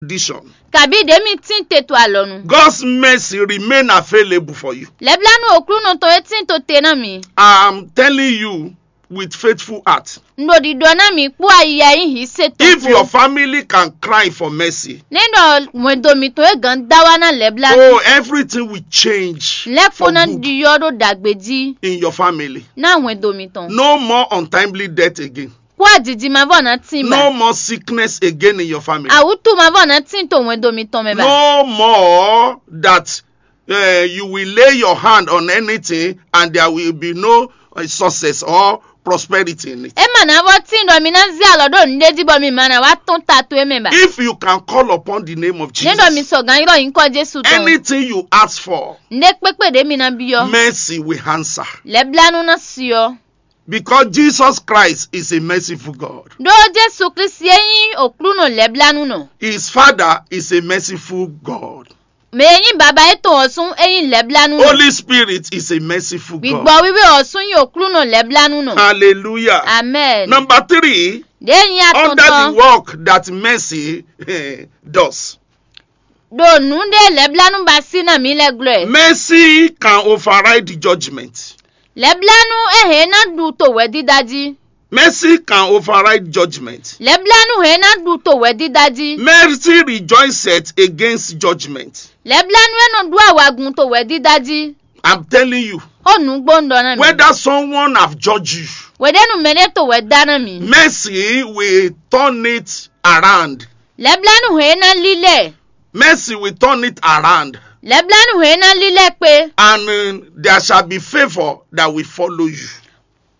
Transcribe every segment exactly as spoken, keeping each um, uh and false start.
condition. Kabǐ ɖě mi tín te to alɔnu. God's mercy remain available for you. Lɛblanu Oklúnɔ tɔn e tín to te ná mi. I'm telling you with faithful heart. Un ɖo ɖiɖɔ ná mi kpó ayi e nyí hǐ se tɔn If your kpó. Family can cry for mercy, Ní ɖɔ hwɛndo mitɔn e gǎn dá wá ná lɛblanu. Oh, everything will change Lɛ́kpo for ná good ɖiɖɔ ɖo ɖagbe jí in your family. Ná hwɛndo mitɔn. No more untimely death again. Kó ajiji mavɔ ná tín No ba. More sickness again in your family. Awútu mavɔ ná tín to hwɛndo mitɔn mɛ ba. No more that uh, you will lay your hand on anything and there will be no uh, success or prosperity in it. É mà ná vɔ tín ɖɔ mi ná zé alɔ ɖó nǔɖé jí bɔ mi ma ná wá tɔ́n ta towe mɛ ba. If you can call upon the name of Ní ɖɔ mi Jesus, sɔ gǎn ylɔ́ nyǐkɔ Jésù tɔn. Anything you ask for, Nɖé kpékpé ɖě mi ná byɔ́. Mercy will answer. Lɛblanu ná syɔ. Because Jesus Christ is a merciful God. Ɖó Jésù Klísu é nyí Oklúnɔ lɛblanu nɔ. His Father is a merciful God. Mɛ e nyí baba étɔn ɔ́ sún é nyí lɛblanu nɔ. Holy Spirit is a merciful Gbígbɔ God. wíwé ɔ́ sún nyí Oklúnɔ lɛblanu nɔ. Hallelujah. Amen. Number three, Ɖě nyí under the atɔntɔn. Work that mercy eh, does. Ɖo nǔ ɖé lɛblanu ba sí ná mi lɛ glɔ́. Mercy can override judgment. Lɛblanu é hɛn ná ɖu to wɛ̌dídá jí. Mercy can override judgment. Lɛblanu hɛn ná ɖu to wɛ̌dídá jí. Mercy rejoiceth against judgment. Lɛblanu é nɔ ɖu awagun to wɛ̌dídá jí. I'm telling you, Ó nǔgbó un ɖɔ ná mi. Whether someone have judged you, Wěɖénu mɛɖé to wɛ̌ dá ná mi. Mercy will turn it around. Lɛblanu hɛn ná lílẹ̀. Mercy will turn it around. Lɛblanu hɛn ná lílẹ̀ pé. And uh, there shall be favor that will follow you.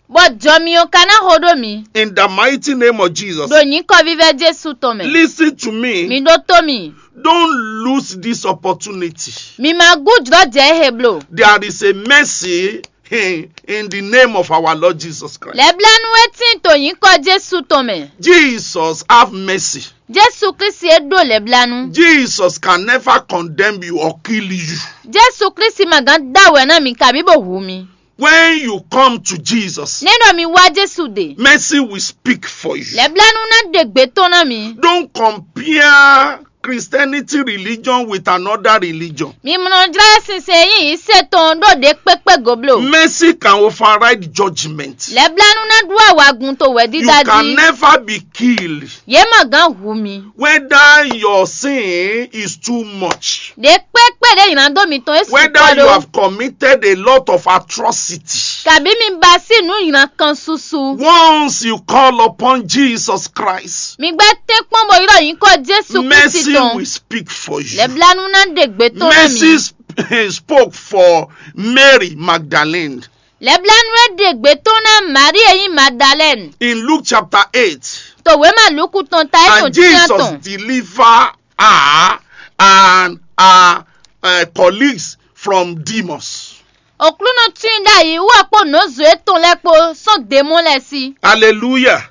Bɔ jɔ mi ɔ́ ka ná xo ɖó mi. In the mighty name of Jesus. Ɖo nyǐkɔ vívɛ́ Jésù tɔn mɛ. Listen to me. Mi ɖótó mi. Don't lose this opportunity. Mi ma gújlɔ́ jɛ é he bló. There is a mercy in, in the name of our Lord Jesus Christ. Lɛblanu é tín to nyǐkɔ Jésù tɔn mɛ. Jesus have mercy. Jésù Klísu é ɖó lɛblanu. Jesus can never condemn you or kill you. Jésù Klísu ma gán dá wɛ̌ ná mi kabí bó hu mi. When you come to Jesus, Ní ɖɔ mi wá Jésù ɖe. Mercy will speak for you. Lɛblanu ná ɖe gbě tɔn ná mi. Don't compare Christianity religion with another religion. Mi mlɔ jlá sinsɛn yí se tɔn ɖó ɖě kpékpé go bló. Mercy can override judgment. Lɛblanu ná ɖu awagun to wɛ̌dídá You can jí. Never be killed. Yě ma gán hu mi. Whether your sin is too much, Ɖě kpékpé ɖě nylá dó mitɔn é whether sukpɔ́ you ɖó. Have committed a lot of atrocity. Kabí mi ba sí nǔ nylá kan susu. Once you call upon Jesus Christ, Mi gbɛ́ tɛ́nkpɔ́n bó ylɔ́ nyǐkɔ Jésù Klísu Mercy tɔn. Will speak for you. Lɛblanu ná ɖe gbě tɔn ná Mercy mi. sp- spoke for Mary Magdalene. Lɛblanu é ɖe gbě tɔn ná Marie e nyí Magdalene. In Luke chapter eight, To wěma Luku tɔn ta é and tɔn tinya Jesus tɔn. Deliver her and her uh, colleagues from demons. Oklúnɔ tún i ɖ'ayǐ wú ɔ́ kpó nǒzo étɔn lɛ́ɛ kpó sɔ́ demɔ́ lɛ́ɛ sí. Hallelujah.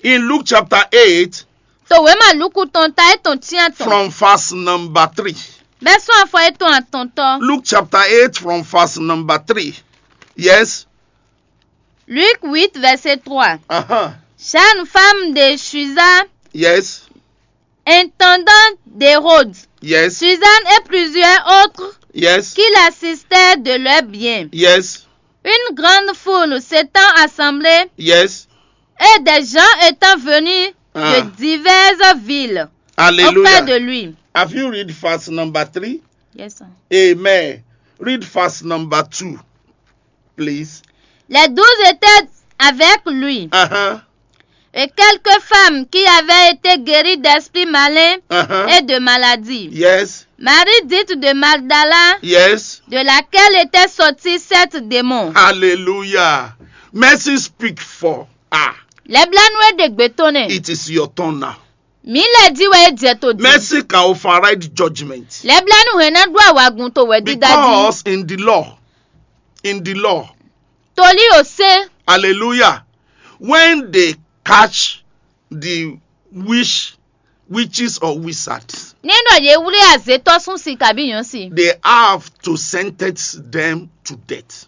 In Luke chapter eight, To wěma Luku tɔn ta é tɔn tinya tɔn. From verse number three. Bɛ́ sɔ́ afɔ étɔn atɔntɔ́. Luke chapter eight from verse number three. Yes. Luc huit, verset trois. Uh-huh. Jeune femme de Susa, Yes. intendante d'Hérode, Yes. Suzanne et plusieurs autres Yes. qui l'assistaient de leurs biens. Yes. Une grande foule s'étant assemblée Yes. et des gens étant venus Ah. de diverses villes auprès Hallelujah. De lui. Have you read verse number three? Yes, sir. Amen. Read verse number two, please. Les douze étaient avec lui. Uh-huh. Et quelques femmes qui avaient été guéries d'esprits malins Uh-huh. Et de maladies. Yes. Marie dite de Magdala, Yes. De laquelle était sorti sept démons. Hallelujah. Mercy speak for her. Lɛblanu e ɖe gbe tɔn nɛ. It is your turn now. Mi lɛ ji wɛ e jɛ to di. Mercy can override judgment. Lɛblanu hɛn na ɖo awagun to wɛ dida ji. Because in the law, in the law, Toli o se. Hallelujah. When they catch the witch, witches or wizards, Ní nɔ ye wlé azetɔ sún si kabi yɔn si. They have to sentence them to death.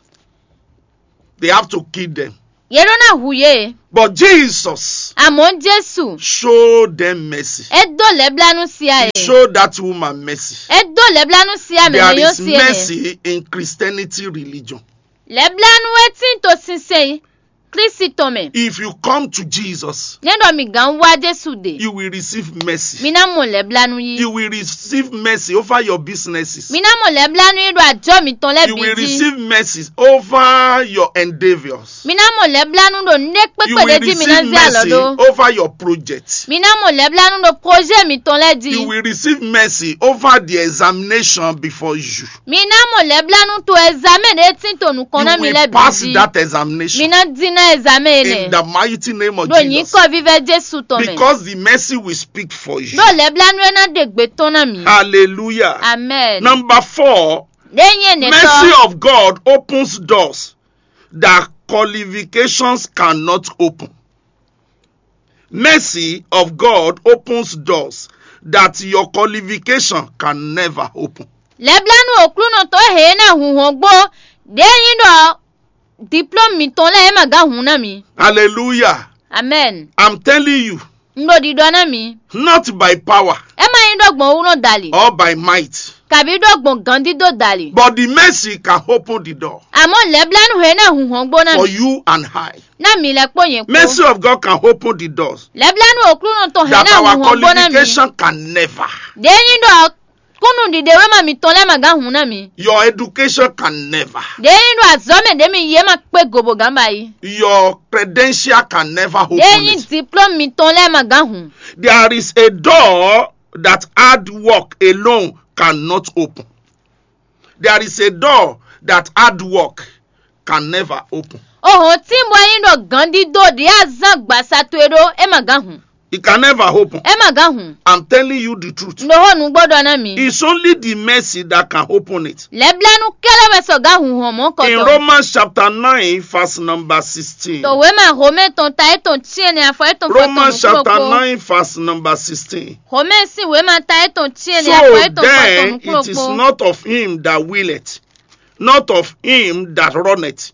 They have to kill them. Yě ɖó ná hu yě. But Jesus Àmọ́ Jésù, showed them mercy. É dó lɛ̌blánú sía He yě. Showed that woman mercy. É dó lɛ̌blánú sía mɛ There mɛ nyɔ́ is sía yě. Mercy in Christianity religion. Lɛ̌blánú é tín to sinsɛn Klísi tɔn mɛ. If you come to Jesus, Nɛ́ ɖɔ mi gǎn wá Jésù ɖe. You will receive mercy. Mi ná mɔ lɛ̌blánú yí. You will receive mercy over your businesses. Mi ná mɔ lɛ̌blánú yí ɖo ajɔ̌ mitɔn lɛ́ɛ You bǐ will jí. Receive mercy over your endeavors. Mi ná mɔ lɛ̌blánú ɖo nǔɖé You kpékpé will ɖé jí mi ná receive zé alɔ mercy ɖó. Over your project. Mi ná mɔ lɛ̌blánú ɖo projet mitɔn lɛ́ɛ jí. You will receive mercy over the examination before you. Mi ná mɔ lɛ̌blánú to ɛzamɛ ɖé tín to nukɔn You ná mi will lɛ́ɛ bǐ pass jí. That examination. Mi ná dín ná ɛzamɛ In énɛ́. The mighty name of Ɖo Jesus. Nyǐkɔ vívɛ́ Jésù tɔn mɛ. Because the mercy will speak for you. Ɖó lɛ̌blánú é ná ɖe gbe tɔn ná mi. Hallelujah. Amen. Number four, Ɖé nyí énɛ́ mercy tɔn. Of God opens doors that qualifications cannot open. Mercy of God opens doors that your qualification can never open. Lɛ̌blánú Aklúnɔ tɔn e hɛn é ná hun hɔn gbó ɖě nyí ɖɔ diplɔ́mu mitɔn lɛ́ɛ é ma gán hun ná mi. Hallelujah. Amen. I'm telling you, Un ɖo ɖiɖɔ ná mi. Not by power É ma nyí ɖó gbɔn wú nɔ dali, or by might, kabí ɖó gbɔn gǎndídó dali. But the mercy can open the door Àmọ́ lɛ̌blánú hɛn é ná hun hɔn gbó ná for mi. You and I. Ná mi lɛ́ kpó nyɛ kpó. Mercy of God can open the doors Lɛ̌blánú Aklúnɔ tɔn hɛn that ná our hun hɔn gbó ná mi. Qualification can never. Ɖě nyí ɖɔ kúnnu ɖiɖewéma mitɔn lɛ́ɛ ma gán hun ná mi. Your education can never. Ɖě nyí ɖɔ azɔ̌ mɛ ɖě mi yi é ma kpé go bó gán ba yi. Your credential can never open Ɖě nyí it. Diplɔ́mu mitɔn lɛ́ɛ ma gán hun. There is a door that hard work alone cannot open. There is a door that hard work can never open. Ohɔn tínbɔ nyí ɖɔ gǎndídó ɖě azán gbasa towe ɖó é ma gán hun. It can never open. É ma gán hun. I'm telling you the truth. Un ɖo xó nǔgbó ɖɔ ná mi. It's only the mercy that can open it. Lɛ̌blánú kɛ́lɛ́ wɛ sɔ gán hun hɔn mɔ̌ kɔ In tɔn. Romans chapter nine, verse number sixteen. To wěma Homɛ tɔn ta étɔn cyɛnɛ afɔ étɔn fɔ Romans chapter nine, verse number sixteen. Homɛ sín wěma ta étɔn cyɛnɛ afɔ So étɔn fɔ then it is nukúnlokpó. Not of him that willeth, not of him that runneth,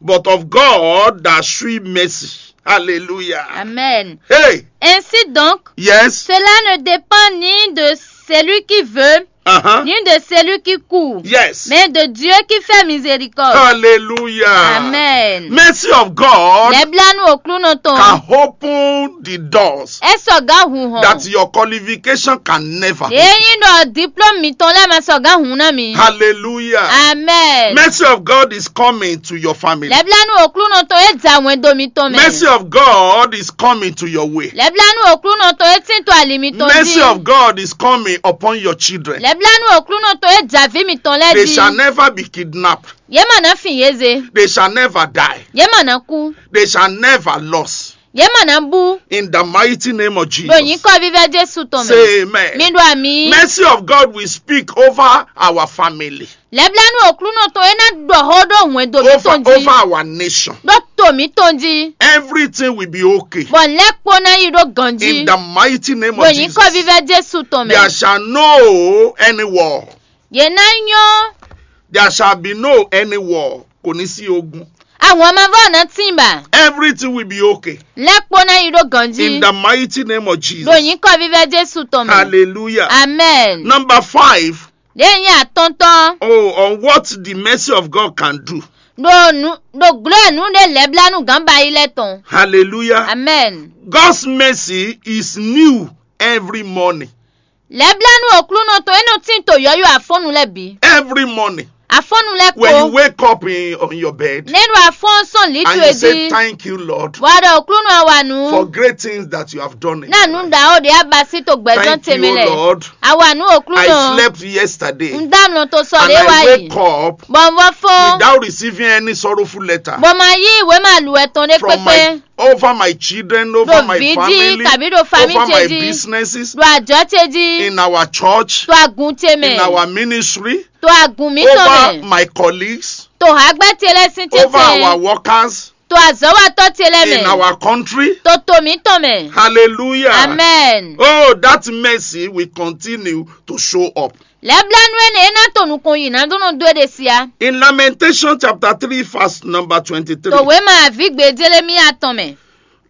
but of God that shew mercy. Hallelujah. Amen. Hey, Ainsi donc, yes. Cela ne dépend ni de celui qui veut, Uh-huh. Ni de celui qui court, Yes. Mais de Dieu qui fait miséricorde. Hallelujah. Amen. Mercy of God Lɛblanu Oklunɔ tɔn. Can open the doors Ɛ sɔ ga hun hɔn. That your qualification can never open. Eyin dɔ diplôme mitɔn lɛ ma sɔ ga hun na mi. Hallelujah. Amen. Mercy of God is coming to your family. Lɛblanu Oklunɔ tɔn e ja wɛn do mitɔn mɛ. Mercy of God is coming to your way. Lɛblanu Oklunɔ tɔn e tin to ali mitɔn Mercy ji. Of God is coming upon your children. Lɛblanu Oklunɔ tɔn e ja vi mitɔn lɛ They ji. Shall never be kidnapped. Ye ma na fin ye ze. They shall never die. Ye ma na ku. They shall never lost. Ye ma na bu. In the mighty name of Jesus. Ɖo nyikɔ vivɛ Jesu tɔn mɛ. Say amen. Mi ɖo ami. Mercy of God will speak over our family. Lɛblanu Oklunɔ tɔn e na ɖɔ xó ɖo hwɛndo Over, mitɔn ji. Over our nation. Ɖo to mitɔn ji. Everything will be okay. Bɔ lɛkpo na yi ɖo ganji. In the mighty name of Jesus. Ɖo nyikɔ vivɛ Jesu tɔn mɛ. There shall no any war. Ye na nyɔ. There shall be no any war. Kò ní sí ogun. Àwọn ọmọ bọ́ọ̀ náà tì ń bà. Everything will be okay. Lẹ́pọ̀ náà yìí ló gànjí. In the mighty name of Jesus. Lòyìn kọ́ vívẹ́ Jésù tọmọ. Hallelujah. Amen. Number five. Lẹ́yìn àtọ́ntọ́. Oh, on what the mercy of God can do. Ɖo nu ɖo glo enu ɖe lɛblanu gán ba yi lɛ tɔn. Hallelujah. Amen. God's mercy is new every morning. Lɛblanu Oklunɔ tɔn e nɔ tin to yɔyɔ afɔnu lɛ bi. Every morning. Afɔnu lɛ ko. When you wake up in, on your bed. Ne ɖo afɔn sɔn li to e di. And you say, "Thank you, Lord, for great things that you have done in my life." Na nu da o de abasi to gbɛzɔn teme lɛ. Thank you, Lord. Awa nu Oklunɔ. I slept yesterday. N da mlɔ to sɔ de wa yi. And I wake up. Bɔn vɔ fɔ. Without receiving any sorrowful letter. Bɔn ma yi we ma lu ɛtɔn de kpekpe. Over my children, over my family, over my businesses, ɖo ajɔ ce ji, in our church, ɖo agun ce mɛ, in our ministry, ɖo agun mitɔn mɛ, over my colleagues, to hagbɛ ce lɛ sin tete, over our workers, to azɔ̌watɔ́ ce lɛ́ɛ in mɛ, our country. To to mǐtɔn mɛ. Hallelujah. Amen. Oh, that mercy will continue to show up. Lɛ́blánú énɛ́ é ná to nukɔn yi ná dó nɔ dó é ɖe siá. In Lamentation chapter three, verse number twenty-three. To wěma àvígbe Jelemíya tɔn mɛ.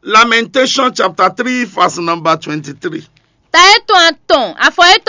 Lamentation chapter three, verse number twenty-three. Ta étɔn atɔn, afɔ étɔn